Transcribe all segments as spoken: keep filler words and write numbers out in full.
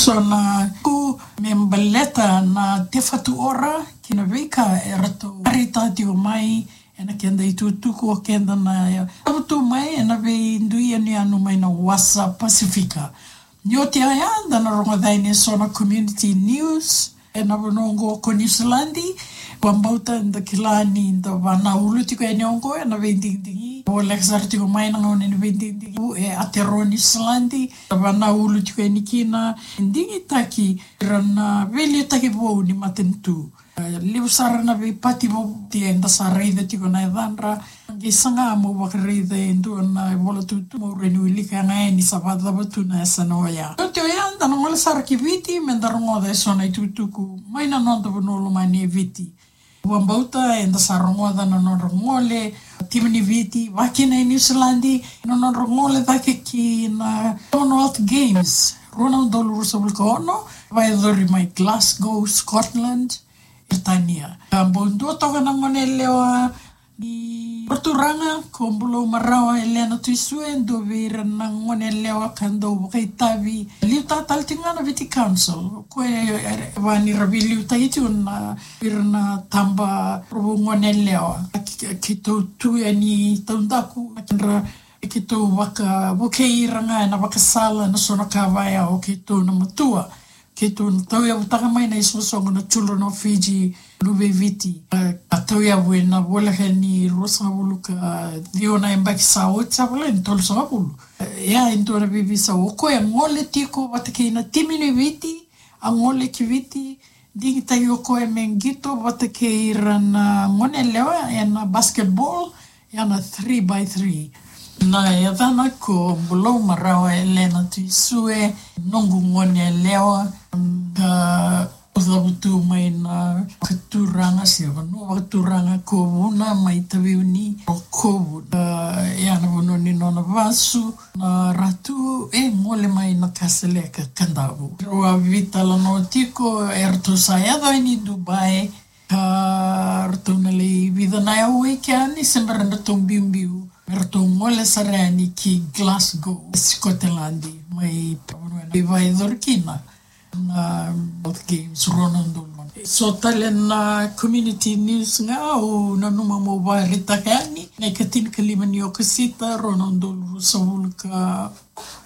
So na ku me baleta na Te Whatu Ora kei na veika e ratou karita tiko mai ena keda itukutuku o keda na tavutu mai ena veidui yanuyanu mai na wasa Pasifika. Ni oti oya eda na rogoca yani eso na community news ena vanua oqo ko Niusiladi. Vakabauta eda kila ni da vanaulu tiko yani oqo ena veidigidigi. Voleka sara tiko mai na gauna ni veidigidigi e Aotearoa Niusiladi. Da vanaulu tiko yani kina e digitaki ira na veiliutaki vou ni matanitu. E levu sara na veipati vou eda sa raica tiko na yacadra. Qai saga mo vakaraica e dua na ivola tutu mo rawa ni wilika ga yani sa vakacava tu na yasana oya. Oti oya eda na gole sara ki Viti meda rogoca eso na itukutuku mai na noda vanua lomani e Viti. Vakabauta eda sa rogoca na nodra gole timi ni Viti vaka kina e Niusiladi, na nodra gole cake ki na Commonwealth Games rua na udolu ruasagavulu ka ono, vakayacori mai Glasgow, Scotland, Peritania. Ka bau dua toka na gone yalewa ni vakaturaga ko Bulou Marawa Elena Tuisue, dua vei ira na gone yalewa ka dau vakaitavi. Liutaka tale tiko ga na Viti Council, ko e, e, e, vaka ni ra veiliutaki tiko na, ira na taba rua na gone yalewa. Ke, ke, keitou tu yani taudaku, na kedra, keitou vakavukei ira ga ena vakasala, na so na ka vaya o keitou na matua. Keitou na tauyavutaka mai na isoqosoqo na Children of Fiji, Luve i Viti. A, a tauyavu ena voleka ni ruasagavulu ka ciwa na yabaki sa oti, sa voleka ni tolusagavulu. E, ia, e dua na veiveisau, o koya gole tiko vata kei na timi ni Viti, a gole ki Viti, digitaki o koya me qito vata kei ira na gone yalewa ena basketball, ia na three by three. Na yacana ko Bulou Marawa Elena Tuisue, noqu gone yalewa, ka cavutu mai na vakaturaga se vanua vakaturaga ko Vuna mai Taveuni, Rokovu. A, ia na vanua ni nona vasu, na Ratu, e gole mai na Kasaleka, Kadavu. Rau a veitalanoa tiko, eratou sa yaco yani Dubai, ka ratou na lai vica na yau e kea ni se bera ni ratou biubiu me ratou gole sara yani ki Glasgow, Scotland, mai vakayacori kina na Commonwealth Games rua na udolu. So tale na community news ga au nanuma meu vakaraitaka yani, na ikatinikalima ni Okosita rua na udolu ruasagavulu ka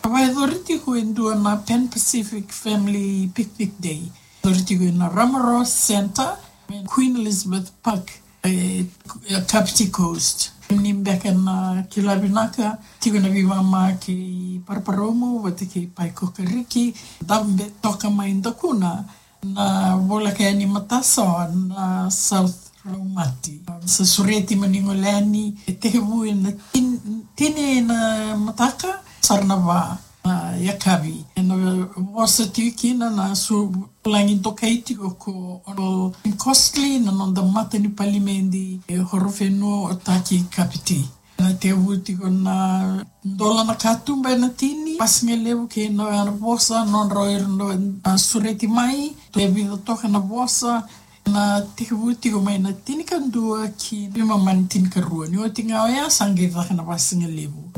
vakayacori tiko e dua na Pan Pacific Family Picnic Day. Vakayacori tiko ena Ramaroa Centre, Queen Elizabeth Park, e, e Kapiti Coast. Ni beka na kila vinaka, tiko na veimama kei Paraparaumu vata kei Pae Kokariki, dabe toka mai Dakuna, na voleka yani matasawa na South Raumati. Sa sureti mo ni gole yani, e tekivu ena tin-, tini na mataka, sara na va na yakavi. Ena vosa tiko kina na su-, vulagi dokai tiko ko Honourable Tim Costley, na noda mata ni palimedi e Horowhenua, Ōtaki, Kapiti. Na tekivu tiko na dola na katuba ena tini, vakasigalevu kei na vosa, nodra o ira na sureti mai, e vica toka na vosa, na tekivu tiko mai na tinikadua ki na veimama ni tinikarua. Ni oti ga oya sa qai caka na vakasigalevu.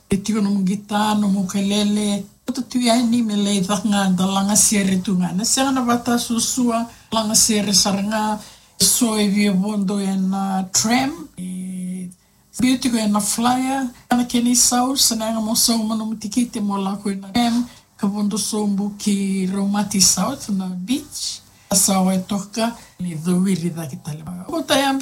E tiko nomu qita, nomu ukelele, kauta tu yani me lai caka ga, da lagasere tu ga. Na sega na vata suasua, lagasere sara ga, so e via vodo ena tram, e biu tiko ena flyer, na kena isau, sa na yaga mo sauma nomu tikite mo lako ena tram, ka vodo sobu ki Raumati South, na beach, sa wai toka, ni cowiri cake tale. Kauta yani